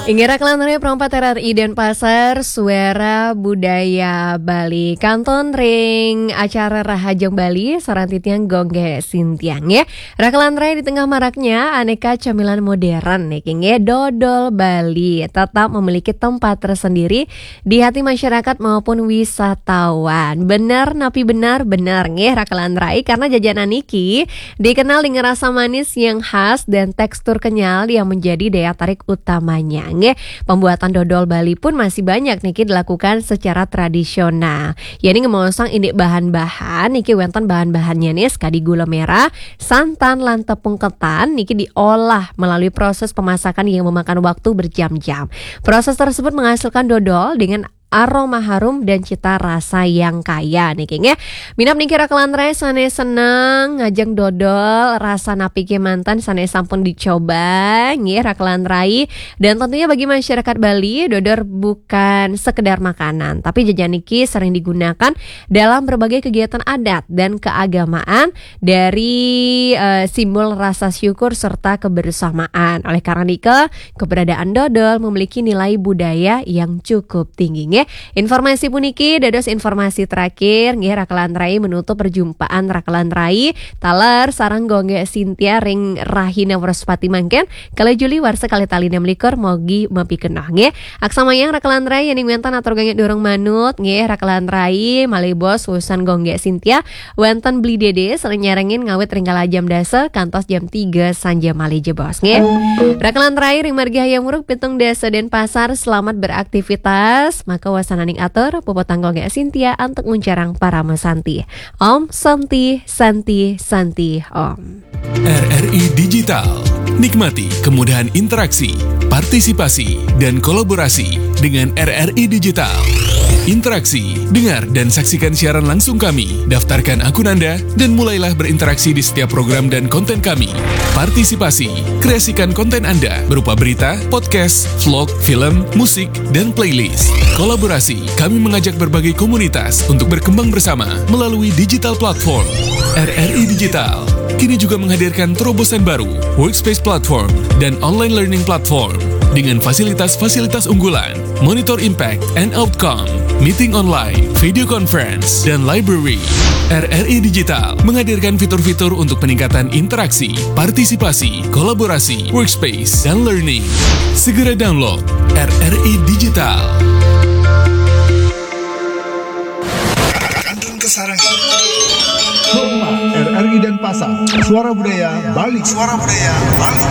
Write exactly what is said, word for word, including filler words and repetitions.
Inggih rakelan ring Pro empat R R I Denpasar, Suara Budaya Bali. Kantun ring acara Rahajeng Bali, sareng titiang Gung Gé Sintiang, nggih. Rakelan ring, di tengah maraknya aneka camilan modern niki, nggih, dodol Bali tetap memiliki tempat tersendiri di hati masyarakat maupun wisatawan. Bener napi bener, bener, nggih, rakelan ring, karena jajanan niki dikenal dengan rasa manis yang khas dan tekstur kenyal yang menjadi daya tarik utamanya. Nggih, pembuatan dodol Bali pun masih banyak niki dilakukan secara tradisional. Yéning ngemaosang indik bahan-bahan, niki wénten bahan-bahannya nih, sakadi gula merah, santan, lan tepung ketan, niki diolah melalui proses pemasakan yang memakan waktu berjam-jam. Proses tersebut menghasilkan dodol dengan aroma harum dan cita rasa yang kaya niki, nggih. Minab niki rakelan ring sané seneng ngajeng dodol, rasa napi kémanten sané sampun dicoba, nggih, rakelan ring. Dan tentunya bagi masyarakat Bali, dodol bukan sekedar makanan, tapi jajan niki sering digunakan dalam berbagai kegiatan adat dan keagamaan dari, eh, simbol rasa syukur serta kebersamaan. Oleh karena niki, keberadaan dodol memiliki nilai budaya yang cukup tinggi, nggih. Informasi puniki dados informasi terakhir, nggih, rakelan ring, menutup perjumpaan rakelan ring taler sareng Gung Gé Sintia ring rahina Wrespati mangkin, kalih Juli warsa kalih tali enam likur, mogi mapikenoh, nggih. Aksamayang rakelan ring, yéning wénten atur gangé durung manut, nggih, rakelan ring, malih bos wusan Gung Gé Sintia, wénten Beli Dédé sareng nyarengin ngawit ring kala jam dasa kantos jam tiga sanja malih jebos, nggih. Rakelan ring, ring margi Hayam Wuruk pitung dasa Denpasar, selamat beraktivitas. Maka wasananing atur, puputang Gung Gé Sintia antuk nguncarang parama santi. Om Santi, Santi, Santi, Om. R R I Digital. Nikmati kemudahan interaksi, partisipasi, dan kolaborasi dengan R R I Digital. Interaksi, dengar dan saksikan siaran langsung kami, daftarkan akun Anda, dan mulailah berinteraksi di setiap program dan konten kami. Partisipasi, kreasikan konten Anda berupa berita, podcast, vlog, film, musik, dan playlist. Kolaborasi, kami mengajak berbagai komunitas untuk berkembang bersama melalui digital platform. R R I Digital kini juga menghadirkan terobosan baru, Workspace Platform dan Online Learning Platform, dengan fasilitas-fasilitas unggulan, monitor impact and outcome, meeting online, video conference, dan library. R R I Digital menghadirkan fitur-fitur untuk peningkatan interaksi, partisipasi, kolaborasi, workspace, dan learning. Segera download R R I Digital. Kantun kasarengin. Pro empat R R I Denpasar, Suara Budaya Bali. Suara Budaya Bali.